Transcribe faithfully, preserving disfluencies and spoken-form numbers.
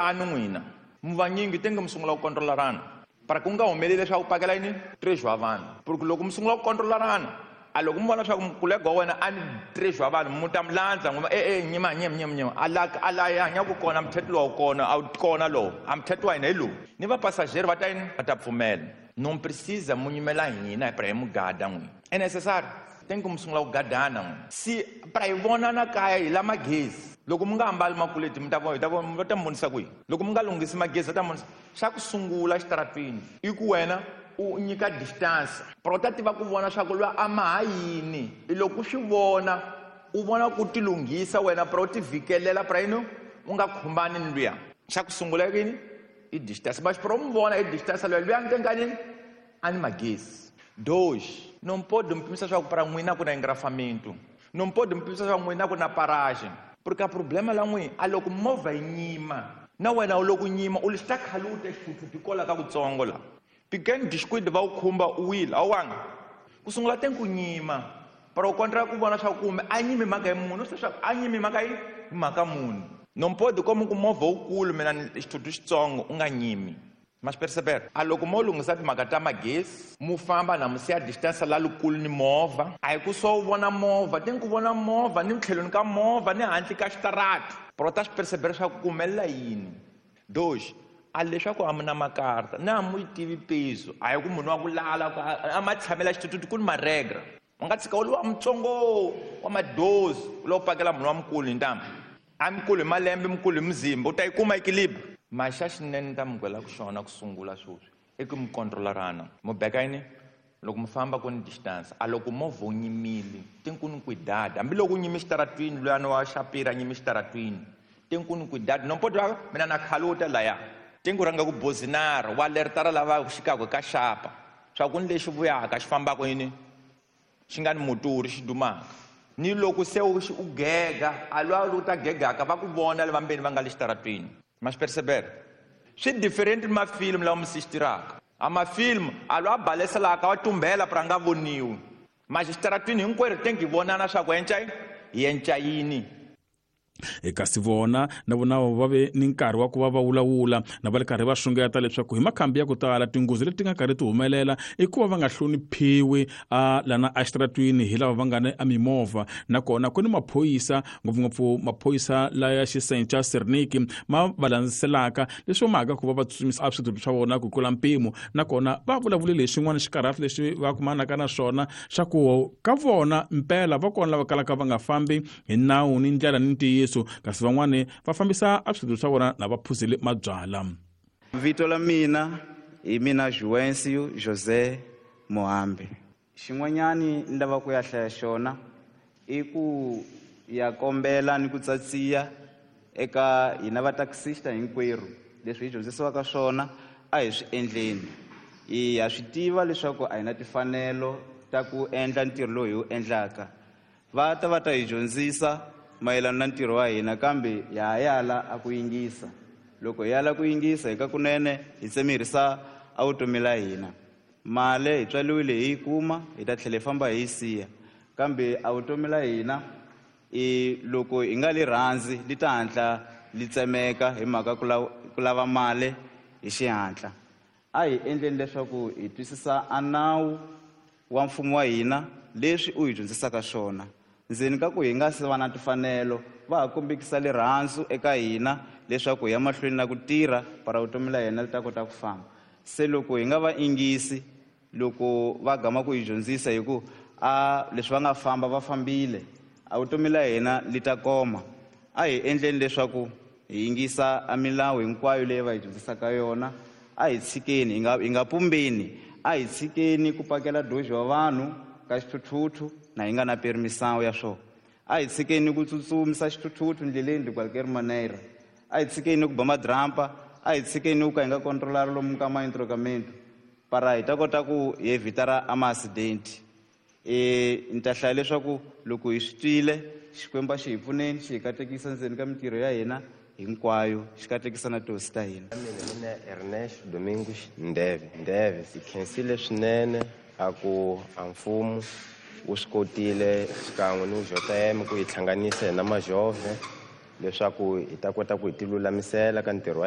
Tani n'wina mi vanyingi tenge mi sungula ku kontrolarana para ku nga humeleli leswaku pakela yini treasure wa vanhu porque loko mi sungula ku kontrolarana a loko mi vona leswaku mukulega wa wena a ni treasure wa vanhu mu ta mi landza n'wi e e nyima nyima nyima nyima a la a la ya hanyaka kona mthetho lowu kona a wu kona lowu a mthetho wa hina hi lowu ni vapasajeri va ta yini va ta pfumela non precisa mu nyimela hina para hi mugada n'wina é necessário tem que mi sungula ku gadana n'wina si para hi vonana kaya hi la magezi loko mi nga ambali makuleti mi ta vona hi ta vona va ta mi vonisa kwihi loko mi nga lunghisi magezi va ta mi vonisa xa ku sungula xitaratwini i ku wena u nyika distance para u ta tiva ku vona swa ku lwa a ma ha yini i loko u swi vona u vona ku ti lunghisa wena para u ti vhikelela para yini u nga khumbani ni luya xa ku sungula yini i distance mas para u mi vona i distance luya luya nkenkanini a ni magezi dois não pode me pimisa swa ku para n'wina ku na engrafamento não pode me pimisa swa ku n'wina ku na paragem porque a problema la n'wina a loko movha yi nyima na wena u loko nyima u lexi ta khaluta xithuthuthu kola ka kutsongo la pequeno descuido va wu khumba u wile a wu wanga ku sungula te ku nyima para u kontra ku vona swa ku kumbe a nyimi mhaka hi munhu swi leswaku a nyimi mhaka yi hi mhaka munhu não pode como ku movha wukulu mina ni xithuthuthu xitsongo u nga nyimi ma swi percebera a loko mo lunghisa timhaka ta magezi mu famba na mu siya distance la lukulu ni movha a hi ku so u vona movha te ku vona movha ni tlhelweni ka movha ni handle ka xitarati pero ta swi percebera swa ku ku humelela yini dois a leswaku a mi na makarta na mu yi tivi peso a hi ku munhu wa ku lala a ma tshamela xithuthuthu ku ni maregra u nga tshika u ri wa mutsongo wa madozi u lo pakela munhu wa mukulu hi ntambu a mukulu hi malembe mukulu hi muzimba u ta yi kuma equilibre maxa xinene ta mi gwela ku xona ku sungula sweswi i ku mi kontrolarana mu beka yini loko mi famba ku ni distance a loko movha wu nyimile tinkuni cuidado hambiloko u nyime xitaratwini luyani wa xapira a nyime xitaratwini tinkuni cuidado nompoto wa mina na khaluta laya tinku rhanga ku bozinara wa lertara lava xikako ka xapa swa ku ni lexi vuyaka xi fambaka yini xi nga ni moturi xi dumaka ni loko se u u gega a lwa u ta gegaka va ku vona lava mbeni va nga le xitaratwini ma swi percebera swi different ni mafilimu lawa mi sixtiraka a mafilimu a lwa baleselaka wa tumbela para nga voniwi ma xitaratwini hinkwerhu tengi hi vonana swa ku enca hi enca yini kasi vona na vona va ve ni nkarhi wa ku va va vulavula na va ri karhi va xungeta leswaku hi makhambi ya ku tala tinghozi leti nga karhi ti humelela i ku va va nga hloniphiwi a lana exitaratwini hi lava va nga ni a mimovha nakona ku ni maphorisa ngopfungopfu maphorisa laya xisenca Serniki ma va landzelaka leswi mhaka ku va va tsutsumisa a swithuthuthu swa vona ku tlula mpimo nakona va vulavulile hi xin'wana xikarhati lexi va kumanaka na swona xa ku ka vona mpela va kona lava kalaka va nga fambi hi nawu ni ndlela ni ntiyiso kasi van'wani va fambisa a swithuthuthu swa vona na va phuzile mabyala. Vito la mina hi mina Juvencio José Mohambe. Xin'wanyani ni lava ku ya hlaya xona i ku ya kombela ni ku tsatsiya eka hina va taxista hinkwerhu leswi hi dyondzisiwaka swona a hi swi endleni. Hi ha swi tiva leswaku a hi na timfanelo ta ku endla ntirho lowu hi wu endlaka. Va ta va ta hi dyondzisa mayelana na ntirho wa hina kambe ya ha yala a ku yingisa. Loko hi yala ku yingisa hi ka kunene hi tsemerisa a vutomi la hina. Mali hi tswaliwile hi yi kuma hi ta tlhela hi famba hi yi siya kambe a vutomi la hina i loko hi nga li rhandzi li ta hatla li tsemeka hi mhaka ku lava, ku lava mali hi xihatla. A hi endleni leswaku hi twisisa a nawu wa mfumo wa hina leswi u hi dyondzisaka swona. Ndzeni ka ku hi nga se va na timfanelo va ha kombekisa rirhandzu eka hina leswaku hi ya mahlweni na ku tirha para vutomi la hina li ta kota ku famba. Se loko hi nga va yingisi loko va gama ku hi dyondzisa hi ku a leswi va nga famba va fambile a vutomi la hina li ta koma. A hi endleni leswaku hi yingisa a milawu hinkwayo leyi va hi dyondzisaka yona. A hi tshikeni hi nga hi nga pumbeni a hi tshikeni ku pakela doji wa vanhu ka xithuthuthu na hi nga na permisawu ya swona. A hi tshikeni ku tsutsumisa xithuthuthu ndleleni de qualquer maneira. A hi tshikeni ku ba madrampa, a hi tshikeni ku ka hi nga controlar lomu ka ma-entrocamento para hi ta kota ku hi evitara a ma-accident. E ni ta hlaya leswaku loko hi swi twile Xikwembu a xi hi pfuneni xi hi katekisa ndzeni ka mintirho ya hina hinkwayo xi katekisa na tihosi ta hina. Mina mina Ernest Domingos Ndeve Ndeve si khensile swinene a ku a mfumo wu swi kotile xikan'we ni J M ku hi hlanganisa hi na majove leswaku hi ta kota ku hi ti lulamisela ka ntirho wa